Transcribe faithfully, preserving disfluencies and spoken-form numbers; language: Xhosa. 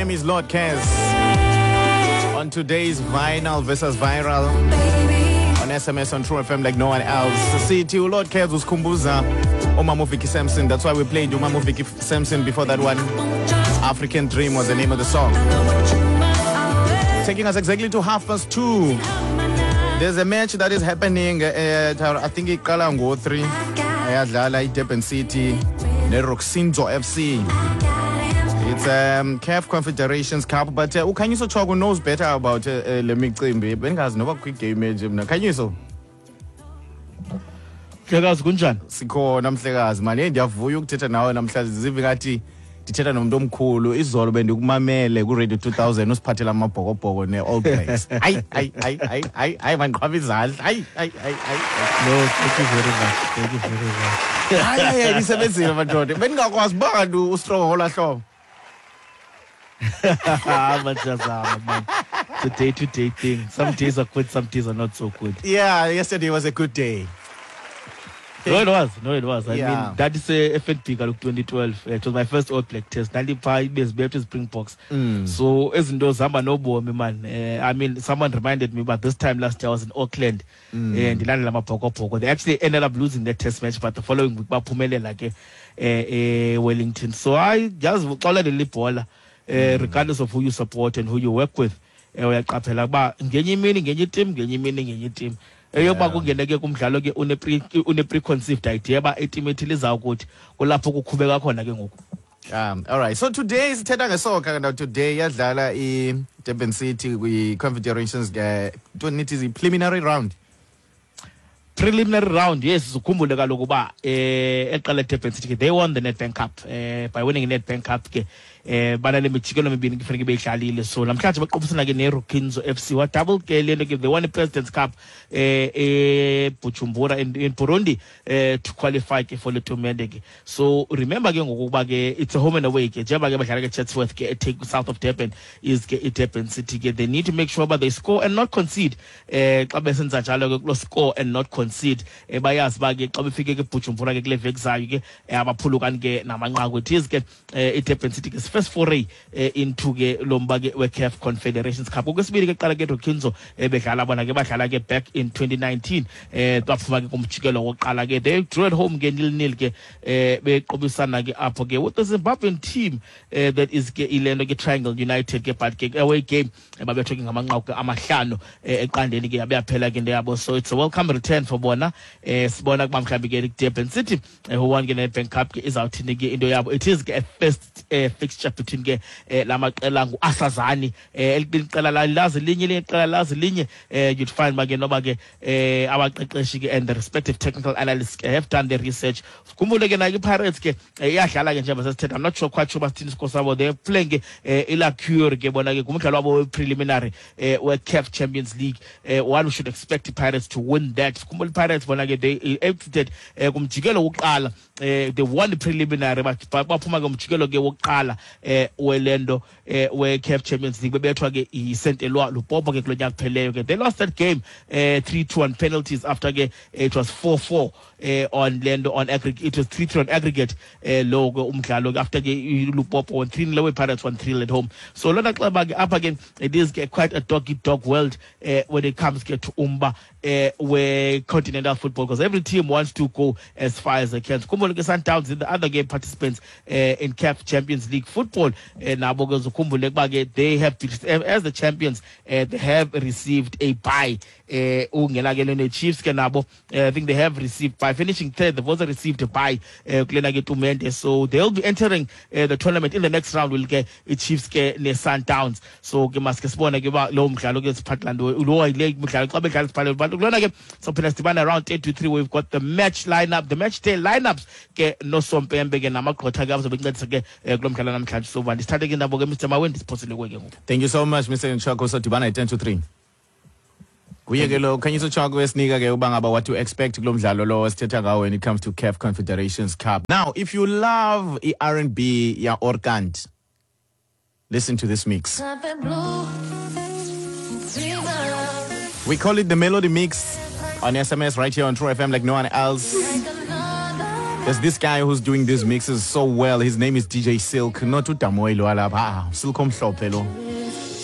name is Lord Kez. On today's Vinyl versus Viral on S M S on True F M like no one else. Sithi uLord Kez usikhumbuza uMama Vicky Sampson. That's why we played uMama Vicky Sampson before that one. African Dream was the name of the song. Taking us exactly to half past two. There's a match that is happening at, I think iqala ngo three. Ayadlala iDurban City neRoxinzo F C. It's um, C A F Confederations Cup, but uh, uKhanyiso Choko knows better about uh, uh, le micimbi. Bengazi noba kwi game nje mina. Khanyiso. Mhlekazi kunjani? Sikhona mhlekazi manje ndiyavuya ukuthetha nawe namhlanje zive ngathi ndithetha nomuntu omkhulu. Izolo bendikumamele ku Radio two thousand usiphathela amabhokobhoko ne All Blacks. Hayi hayi hayi hayi hayi hayi mandiqhwaba izandla. Hayi hayi hayi hayi. No, thank you very much. Thank you very much. Hayi hayi nisebenzile madoda. Bendingakwazi uba kanti ustrong ngolaa hlobo. Man. It's a day-to-day thing. Some days are good, some days are not so good. Yeah, yesterday was a good day. No, it was. No, it was. I yeah. mean, that is a F N B twenty twelve. It was my first All Black test. ninety-five years Baptist Springboks. Mm. So, izinto zihamba nobomi man. Uh, I mean, someone reminded me about this time last year I was in Auckland. Mm. And they actually ended up losing that test match, but the following week, baphumelela ke eh Wellington. So, I just xolela ibhola. Uh, regardless of who you support and who you work with, uyaqaphela uba ngenye imini ngenye team ngenye imini ngenye team eyoba kungene ke kumdlalo ke une pre une preconceived idea ba iteam ethile izawukuthi kulapho kukhubeka khona ke ngoku. Um all right, so today sithetha ngesoccer. Now today yadlala iDurban City kwi Confederations uh, nithi preliminary round. Preliminary round, yes. Ukhumbule kaloku uba eh eqala Durban City they won the Nedbank Cup eh by winning the Nedbank Cup ke eh banale mijikelo mibini kufanele beyidlalile. So namhlanje baqobisana ke neRokinzo F C wa double ke lento ke they won the President's Cup eh eh Bujumbura in, in Burundi eh to qualify ke for the tournament ke. So remember ke ngokuba ke it's a home and away ke njengoba ke badlala ke Chatsworth ke take south of Durban is ke iDurban City ke they need to make sure that they score and not concede eh xa besenza njalo ke kulo score and not concede eh bayazi ba ke xa befike ke Bujumbura ke kule veki zayo ke abaphulukani ke namanqaku. It is ke iDurban City ke first foray eh, into ke lomba ke we C A F Confederations Cup. Okwesibili ke qala ke Rokinzo ebedlala bona ke badlala ke back in twenty nineteen eh baphuma ke kumjikelo wokuqala ke they drew at home ke nil nil ke eh beqobisana ke apho ke with the Zimbabwean team eh, that is ke ilento ke Triangle United ke but ke away game babethwe ke ngamanqaku amahlanu eqandeni ke yaphela ke into yabo. So it's a welcome return for bona eh sibona kuba mhlawumbi ke Durban City eh, who won ke Nedbank Cup ke izawuthini ke into yabo. It is ke a first eh, fixture between ke eh, lamaqela nguAsazani eh eliqela lazi linye liqela lazi linye eh you'd find ba ke noba ke eh abaqeqeshi ke and the respective technical analysts have done their research. Khumbule ke na iPirates ke iyadlala ke njengoba sesithetha. I'm not sure quite sure basithini isikho sabo. They playing ke iLacure ke bona ke kumdlalo wabo preliminary eh we C A F Champions League. Eh, one should expect the Pirates to win that. Khumbule Pirates bona ke they exited kumjikelo wokuqala eh they won the preliminary but baphuma ke umjikelo ke wokuqala eh welendo eh we C A F Champions League bebethwa ke iSaint Eloi Lupopo ke kulonyaka kupheleyo ke they lost that game eh three two on penalties after ke it was four four eh on lendo on aggregate. It was three three on aggregate eh lo ke umdlalo after ke Lupopo won three nil away, Pirates won three at home. So lona xa ke up again it is ke quite a dog eat dog world eh when it comes ke to umba eh where continental football because every team wants to go as far as they can. Khumbule ke Sundowns in the other game participants eh in C A F Champions League football eh nabo ke ukhumbule kuba ke they have as the champions eh, they have received a bye eh ungena ke lena Chiefs ke nabo eh, I think they have received by finishing third they've also received a bye eh, kulena ke tournament. So they'll be entering eh, the tournament in the next round will ke Chiefs ke ne Sundowns. So ke maske sibone ke ba lo mdlalo ke siphathland lo ile mdlalo xa bedlala siphathland but kulona ke so phela sidibana around eight to three we've got the match lineup the match day lineups ke nosompembe ke namagqotha ke abazobe bencedisa ke kulo mdlalo namhlanje. So ndisithathe ke nabo ke Mister Mawendi siphosile kuwe ke ngoku. Thank you so much Mister Nchako. Sodibana at ten to three. Kuye ke lo Khanyiso Choko esinika ke uba ngaba what to expect kulo mdlalo lo esithetha ngawo when it comes to C A F Confederations Cup. Now if you love i-R and B ya Orkant, listen to this mix. We call it the Melody Mix on S M S right here on True F M like no one else. There's this guy who's doing these mixes so well. His name is D J Silk. Not uDamoy lo alapha. Ah, Silk omhlophe lo.